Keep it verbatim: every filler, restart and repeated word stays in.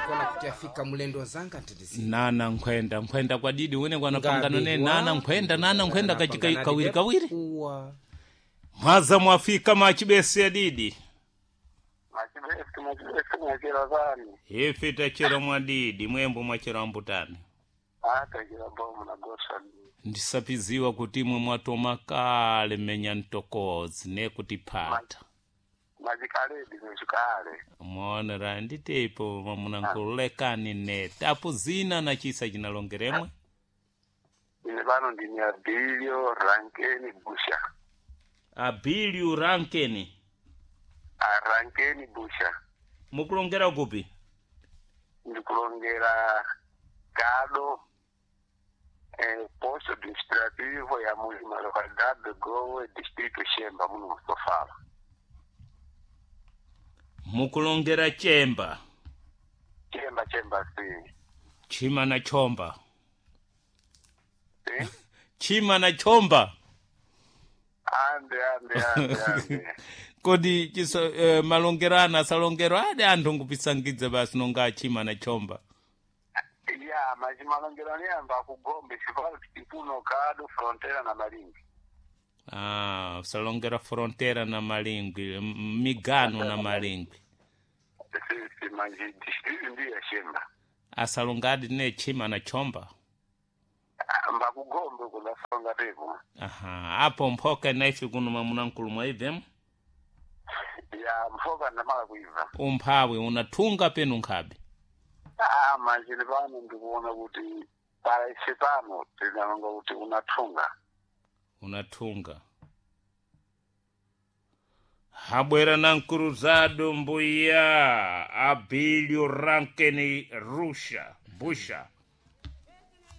Ndikuona kuti afika mulendo zanga ntindisi Nana nkhwenda nkhwenda kwa didi wene kwanapangano ne nana nkhwenda nana nkhwenda kachika kawiri kawiri. Uwa. Mwaza mwafika machibesi ya didi. Machibesi, machibesi mwachera zani. Ife tachera mwa didi mwembo mwachera mbutani. Atachera bomu na gosa. Ndisapiziwa kuti imwe mwatoma kale menya mtokozi nekuti phata. Machikaledi mwechikale. Mwaonera nditepo mwamunankhululekani ne tapu zina na chisa chinalongeremwe. Ine pano ndine Abilio Rankeni Busha. Abilio Rankeni. A Rankeni Busha. Mukulongera kupi? Ndikulongera Gado, eh, posto administrativo ya Mulima localidade de Gowe, distrito Chemba, muno Mustofala. Mukulongera Chemba. Chemba, Chemba, si. Chima na chomba. Si? Chima na chomba. Ande, ande, ande, ande. Kodi chiso eh, malongero ana asalongero ade anthu nkupisangidza basi nonga achima na chomba. Ya, machimalongero aniyamba kugombe, sipalo tipuno Gado, frontera na Malingi. Ah, salongera frontera na Malingwi, m- migano na Malingwi. Si, si, manji, distrito ndiyo ya Chemba. Asalongadi ne chima na chomba. Mbakugombe kudasonga tepo. Aha, apo mphoka naife kuno mwamuna mwaibvemo. Ya, mphoka ndamala kuibva. Umphawi unathunga penu nkhabe. Ah, manjini pano ndikuona kuti para ife pano tinalonga kuti unathunga. Unathunga. Habwera na nkuruzado mbuya Abilio Rankeni Rusha Busha.